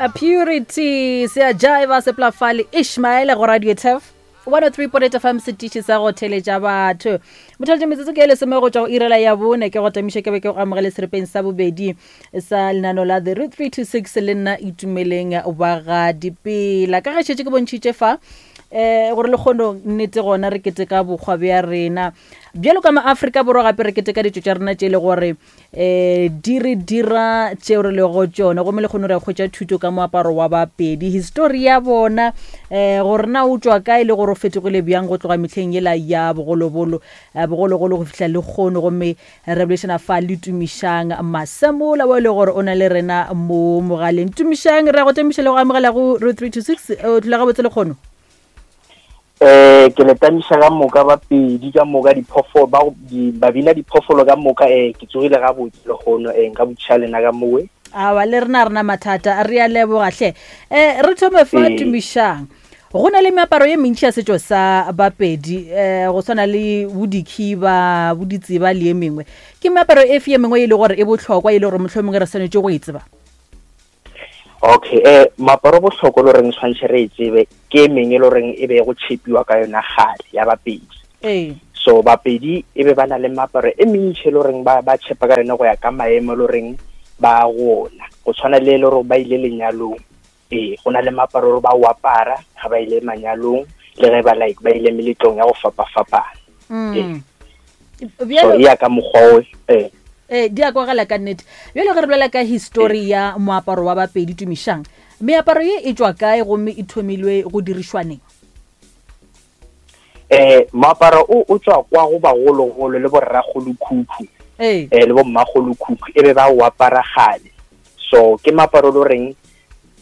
A Purity se a jiva se plafale Ishmael go Radio Turf 103.8 FM setiši sa go theletša batho mothaletša metsotso ke e lesome go tšwa go irela ya bone ke go tamiša ke be ke go amogele serepeng sa bobedi sa lenano la the root 326 le nna itumeleng wa ga dipela ka ge šetše ke bontšhitše fa eh gore le kgono nnete gona re keteka bokgwa bja rena bjalo ka maafrika borwa gape re keteka ditšo tša rena tše e le gore um di re dira tšeo re lego tšone gomme le kgone re hwetša thuto ka moaparo wa bapedi histori ya bona um gore na o tšwa kae le gore o fetogile bjang go tloga mehleng yela ya bogologolo eh, bogologolo go fihla le kgono gomme re bolešana fa le tumišang masemola wa e le gore o na le rena mo mogaleng tumišang re ya go tamiša le go amogela go ro 326 o tlhola gabotse le kgono Eh ke le tamiša ka moka ba pedi ka moka diphoofolo ba di babina diphoofolo ka moka eh ke tsogile ga botse le gono eh nka botšiša lena ka mowe. Awa le rena rena mathata re a leboga hle. Eh re thome fa Ee. tumišang. Go na le meaparo ye mentši ya setšo sa Bapedi eh go swana le bo dikhiba, bo ditseba le ye mengwe. Ke meaparo efe ye mengwe e le gore e bohlokwa e le gore mohlomongwe re swanetše go e tseba? Okay, eh moaparo o bohlokwa le goreng tshwantshe re e tsebe ke e mengwe e le goreng e be go tshepiwa ka yona kgale ya Bapedi. Ee. So Bapedi e be ba na le meaparo e mentši e le goreng ba ba tshepa ka yone go ya ka maemo e le goreng ba go ona. Go tshwana le e le gore ba ile lenyalong. Ee, go na le meaparo gore ba o apara ga ba ile manyalong le ge ba like ba ile meletlong ya go fapafapana. Ee. Bjalo So e ya ka mokgwa o ee. Ee, di a kwagala ka nnete. Bjalo ge re bolela ka histori ya moaparo wa Bapedi, Tumišang, meaparo ye e tšwa kae gomme e thomilwe go dirišwa neng? Eh, moaparo o o tšwa kwa go bagologolo le borrakgolokhukhu Ee. eh, le bommakgolokhukhu e be ba o apara kgale. So ke moaparo o le goreng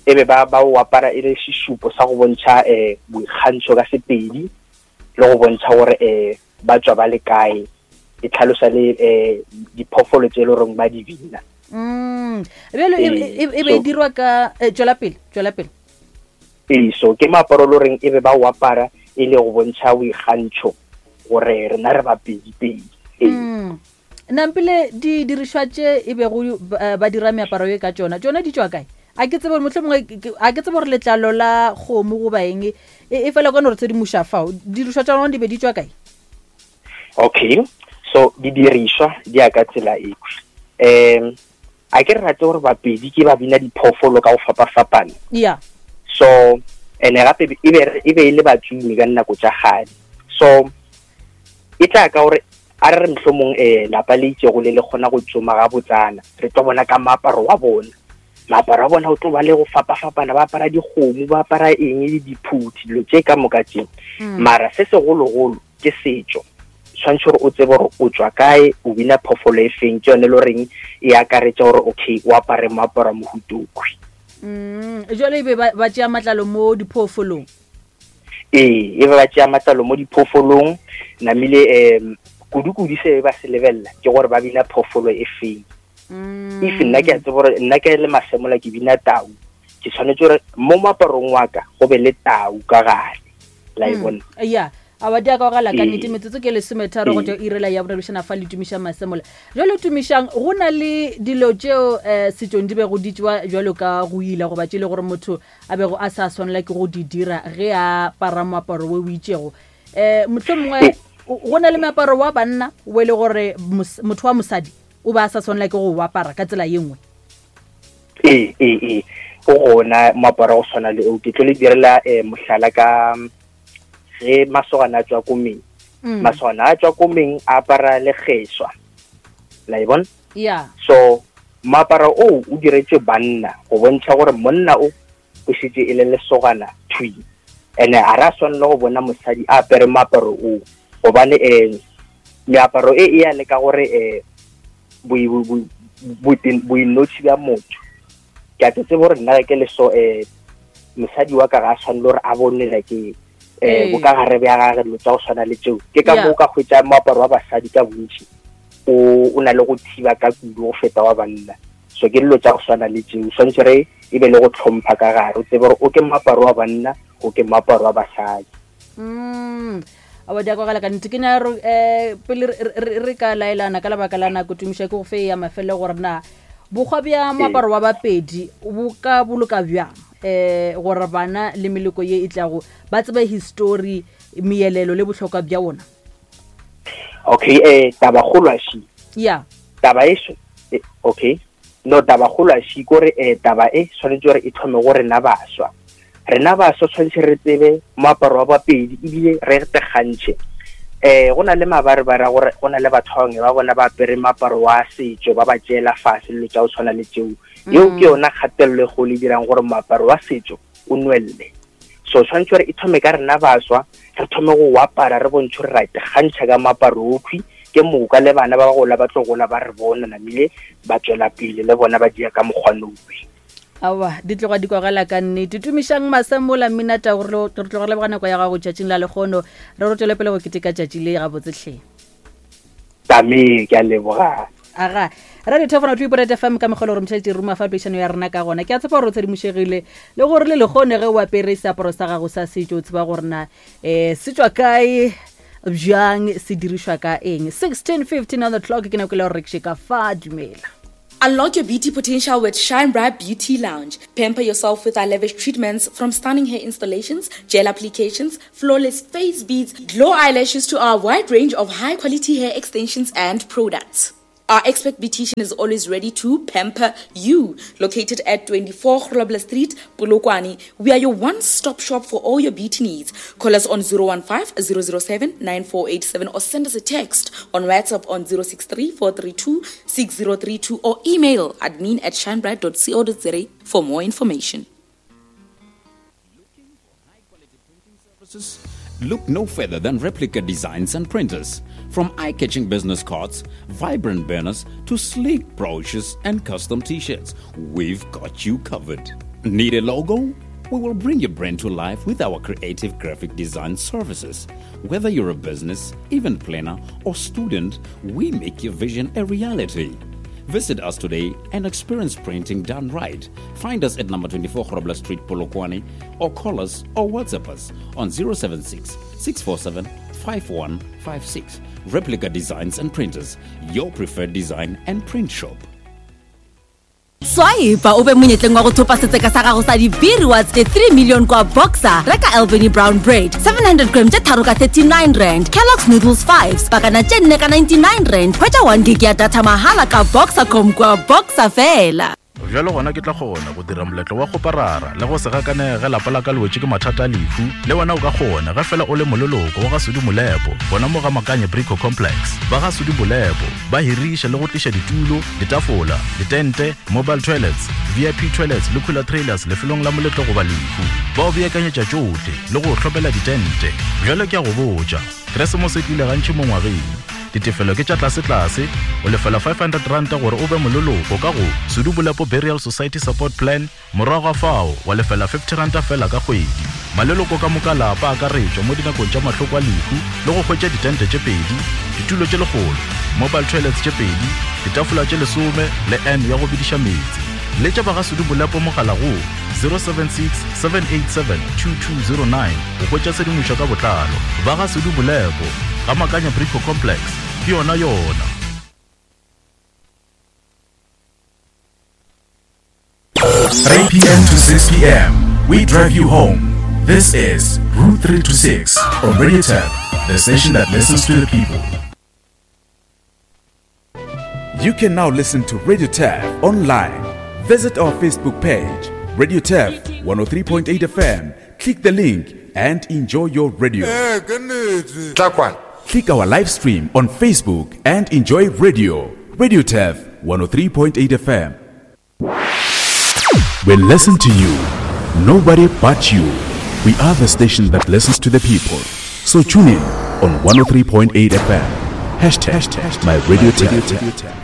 e be ba ba o apara e le sešupo sa go bontšha eh boikgantšho ka Sepedi le go bontšha gore eh ba tswa ba le kae e tlhalosa le eh diphoofolo tse e le goreng ba di bina mm bjalo e, e, e be e dirwa ka eh, tšwela pele tšwela pele ee so ke moaparo le goreng e be ba o apara e le go bontšha boikgantšho gore rena re bapedi pedi ee mm. Nampile di dirišwa tše e bego eh, ba dira meaparo ye ka tšona, tšona di tšwa kae? A ke tsebe gore mohlomongwe a ke tsebe gore letlalo la kgomo goba eng e, e fela ka no re tshedimoša fao. Dirišwa tša gona di be di tšwa kae? Okay, so didirišwa di ya ka tsela e. Um a ke re rate gore bapedi ke ba bina diphoofolo ka go fapafapana. Yeah. So ene gape e be e be e le batsomi ka dinako tša kgale. So e tla ka gore A re re mohlomong um lapa le itšego le le kgona go tsoma gabotsana, re tlo bona ka moaparo wa bona. Moaparo wa bona o tlo ba le go fapafapana, ba apara dikgomo, ba apara eng le diphuthi, dilo tše ka moka tše. Mm. Mara se segologolo ke setšo. Tshwanetse gore o tsebe gore o tšwa kae, o bina phoofolo e feng, ke yone e le goreng e akaretša gore okay o apare moaparo wa mohuta okhwi. Mm. Jwale e be ba, ba tšea matlalo mo diphoofolong. Ee, e be ba tšea matlalo mo diphoofolong, namile um kudu-kudu se ba se lebelela ke gore ba bina phoofolo e feng. Mm. If nna ke a tseba gore nna ke le Masemola ke bina tau, ke tshwanetse gore mo moaparong wa ka go be le tau ka gare. La e mm. bona? Yeah. Awa di a kwagala ka Ee. nnete metsotso ke lesometharo go Ee. tšwa irela ya borebišana fa le tumiša Masemola. Jalo tumišang go na le dilo tšeo um setšong di bego di tšewa jwalo ka go ila goba tše e le gore motho a bego a sa swanela ke go di dira ge a apara moaparo wo o itšego. Um mohlomongwe go na le meaparo wa banna o e le gore motho wa mosadi o be a sa swanela ke go o apara ka tsela ye nngwe. Ee, ee, ee, o gona moaparo go swana le o. Ke tlo le direla um mohlala ka ge masogana a tswa komeng. Mm. Masogana a tswa komeng a apara lekgeswa. La e bona? Yeah. So moaparo o o diretšwe banna go bontšha gore monna o o šetše e le lesogana thwi. Ene a ra swanela go bona mosadi a apere moaparo o gobane um meaparo e e ya le ka gore um boinotshi bja motho. Ke a tsebe gore nna ge ke le so um mosadi wa ka ga a swanele gore a bone like um bokagare bja gage dilo tša go swana le tšeo. Ke ka moo ka hwetša moaparo wa basadi ka bontši o o na le go thiba ka kudu go feta wa banna. So ke dilo tša go swana le tšeo, swantše re e be le go tlhompha ka gare, o tsebe gore o ke moaparo wa banna, o ke moaparo wa basadi. Mm. Awa di a kwagala ka nnete. Ke nyaka gore um pele re ka laelana ka lebaka la nako, tumišo ke go fe ya mafelelo gore na Bokgwa bja moaparo wa Bapedi bo ka boloka bjang um gore bana le meloko ye e tlago ba tsebe histori, meelelo le bohlokwa bja wona? Okay, eh tabakgolo a shi. Ya. Taba e eh, okay. No tabakgolo a shi kore eh taba e tshwanetse gore e thome go rena baswa. Rena baswa tshwanetse re tsebe moaparo wa Bapedi ebile re tegantšhe. Eh go na le mabarebare a gore go na le batho ba bangwe ba bona ba apere moaparo wa setšo ba ba tšeela fase dilo tša go tshwana le tšeo. Yeo ke yona kgatelelo e kgolo e dirang gore moaparo wa setšo o nwelele. So tshwanetse gore e thome ka rena baswa, re thome go o apara re bontšhe gore ra itekgantšha ka moaparo okhwi, ke moka le bana ba gola ba tlo gola ba re bona namile ba tšwela pele le bona ba dia ka mokgwa nowe. Aowa, di tloga di kwagala ka nnete. Tumišang Masemola Mminata, re tloga re leboga nako ya gago tšatšing la lekgono. Re re tšwele pele go keteka tšatši le gabotse hle. Tame, ke a leboga. Aga, Radio Thefona 2.8 FM ka mokgwa le gore motšheletše ruma fa peišano ya rena ka gona. Ke a tshepa gore o tshedimošegile le gore le lekgone ge o apere seaparo sa gago sa setšo o tseba gore na um se tšwa kae bjang se dirišwa ka eng. 16:15 on the clock ke nako le gore re ke ka fa dumela. Unlock your beauty potential with Shine Bright Beauty Lounge. Pamper yourself with our lavish treatments from stunning hair installations, gel applications, flawless face beads, glow eyelashes to our wide range of high quality hair extensions and products. Our expert beautician is always ready to pamper you. Located at 24 Grobler Street, Polokwane, we are your one-stop shop for all your beauty needs. Call us on 015 007 9487 or send us a text on WhatsApp on 063 432 6032 or email admin at shinebright.co.za for more information. Look no further than Replica Designs and Printers. From eye catching business cards, vibrant banners, to sleek brochures and custom t shirts, we've got you covered. Need a logo? We will bring your brand to life with our creative graphic design services. Whether you're a business, event planner, or student, we make your vision a reality. Visit us today and experience printing done right. Find us at number 24 Grobler Street, Polokwane, or call us or WhatsApp us on 076 647 5156. Replica Designs and Printers, your preferred design and print shop. Swipe o be monyetleng wa go thopa setseka sa gago sa di-B-rewards tše 3 million kwa Boxer. Reka Albany Brown Bread 700 gram tše tharo ka 39 rand, Kellogg's Noodles 5 pakana tše nne ka 99 rand. Hwetša 1 gig ya data mahala ka Boxercom kwa Boxer fela. Bjalo gona ke tla kgona go dira moletlo wa kgoparara le go se gakanege ge lapa la ka le wetše ke mathata a lehu. Le wena o ka kgona ge fela o le moleloko wa ga Sudi Molepo gona mo ga Makanye Brico Complex. Ba ga Sudi Molepo ba hiriša le go tliša ditulo, ditafola, ditente, mobile toilets, VIP toilets le cooler trailers lefelong la moletlo goba lehu. Ba o beakanyetša tšohle le go o hlomela ditente. Bjale ke a go botša, Keresemose e tlile gantši mo ngwageng. Ditefelo ke tša tlasetlase, o lefela R500 gore o be moleloko ka go Sudu Bolepo Burial Society Support Plan, morago ga fao wa lefela R50 feela ka kgwedi. Maleloko ka moka a lapa a akaretšwa mo dinakong tša mahloko a lehu le go hwetša ditente tše pedi, ditulo tše lekgolo, mobile toilets tše pedi, ditafola tše lesome le urn ya go bediša meetse. Letša ba ga Sudu Bolepo mogala go 076 787 2209 go hwetša tshedimošo ka botlalo. Ba ga Sudu Bolepo, ga Makanya Brico Complex, ke yona yona. 3 p.m. to 6 p.m. We drive you home. This is Route 3 to 6 on Radio Tap, the station that listens to the people. You can now listen to Radio Tap online. Visit our Facebook page, Radio Tap 103.8 FM. Click the link and enjoy your radio. Click our live stream on Facebook and enjoy radio. Radio Tap 103.8 FM. We listen to you, nobody but you. We are the station that listens to the people. So tune in on 103.8 FM. Hashtag, my radio tap.